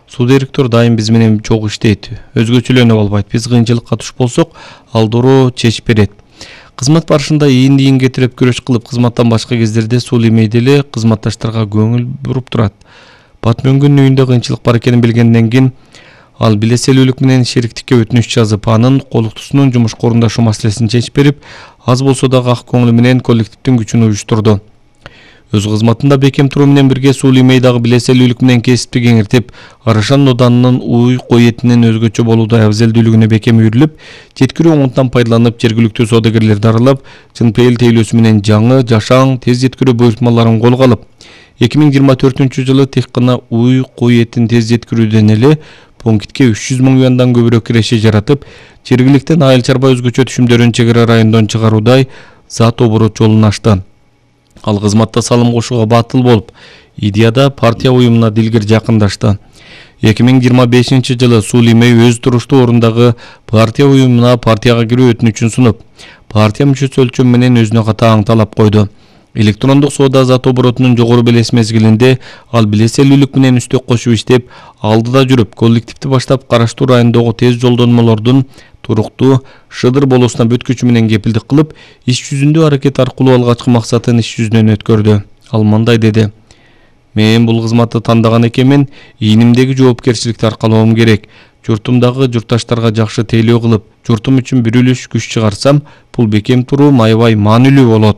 Суу директор дайым биз менен чогуу иштейт, өзгөчөлөнүп албайт. Биз кыйынчылыкка туш болсок, ал дуруу чечип берет. Кызмат барышында ийин кетирип күрөш кылып, кызматтан башка кездерде Сулей деле кызматташтарга көңүл буруп турат. Батмөнгүнүн үйүндө кыйынчылык бар экенин билгенден кийин ал билеселүүлүк менен шериктикке өтүнүч жазып, анын колуктусунун жумушка орундашу маселесин чечип берип, аз болсо да ак көңүлү менен коллективдин күчүн уюштурду. Өз кызматында бекем туруу менен бирге Сулей дагы билеселүүлүк менен кесипти кеңиртип, Арашан Ноданынын уй кой этинин өзгөчө болууда абзелдүүлүгүнө бекем үйрүлүп, жеткирүү оңунтан пайдаланып, жергиликтүү саудагерлерди аралап, чын пейил тейлөөсү менен жаңы, жашаң, тез жеткирүү буйртмаларын колго алып, 2024-жылы тек гана уй кой этин тез жеткирүүдөн эле пунктке 300 000 юандан көбүрөөк киреше жаратып, жергиликтен айыл чарба өзгөчө түшүмдөрүн чек ара райондон чыгаруудай зат оборот жолун ачты. Ал кызматта салым кошууга батыл болуп, идеяда партия уюмуна дилгир жакындашты. 2025-жылы Сулей өз туруштуу орундагы партия уюмуна партияга кирүү өтүнүчүн сунуп, партия мүчөсү өлчөм менен өзүнө катаң талап койду. Электрондук соода зат оборотунун жогору белес мезгилинде ал билеселүүлүк менен үстөк кошуп иштеп, алдыда жүрүп, коллективди баштап караштуу райондогу тез жолдонмолордун туруктуу Шыдыр болосуна бүткүчү менен кепилдик кылып, иш жүзүндө аракет аркылуу алгачкы максатын иш жүзүнөн өткөрдү. Ал мындай деди: "Мен бул кызматты тандаган экенмин, ийнимдеги жоопкерчиликти аркалоом керек. Журтумдагы журтташтарга жакшы тейлөө кылып, журтум үчүн бир үлүш күч чыгарсам, бул бекем туруу аябай маанилүү болот".